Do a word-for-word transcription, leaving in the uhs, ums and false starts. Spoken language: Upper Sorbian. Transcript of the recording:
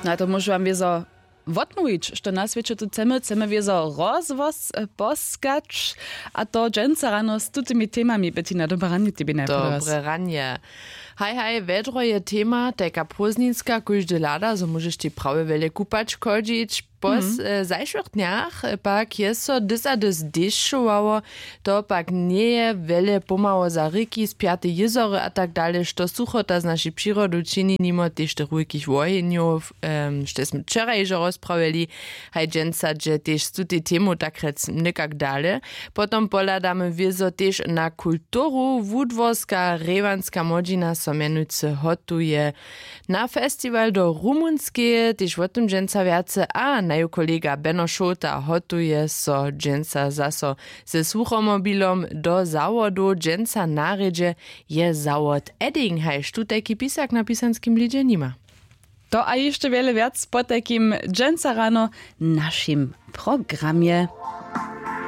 No a to móžu wam wězo wotmołwić, što na swěće tu chcemy chcemy wězo rozhłos poskać. A to dźensa rano z tutymi temami bytina dobre ranje tebi najprjewje. Dobre ranje. Haj haj, wjedro je tema tajka prózdninska kóždy hlada zo móžeš tej prawje wjele kupać chodźić. Po zajšłych dnjach pak je so dys a dys dešćowało. To pak njeje wjele pomhało za rěki spjate jězory a tak dale što suchota z našej přirodu čini nimo tež tych wulkich wohenjow, štož smy wčera hižo rozprawjeli. Haj dźensa dźe tež z tutej temu takrjec někak dale. Potom pohladamy wězo tež na kulturu wudworska rejwanska młodźina so mjenujcy hotuje na festiwal do rumunskeje tež wo tym dźensa wjace a naju kolega beno šołta hotuje so dźensa zaso ze słuchomobilom do zawodow dźensa na rjedźe. Je zawod edding hajž tutajki pisak na pisanskim blidźe nima. To a hišće wjele wjac potajkim dźensa rano w našim programje.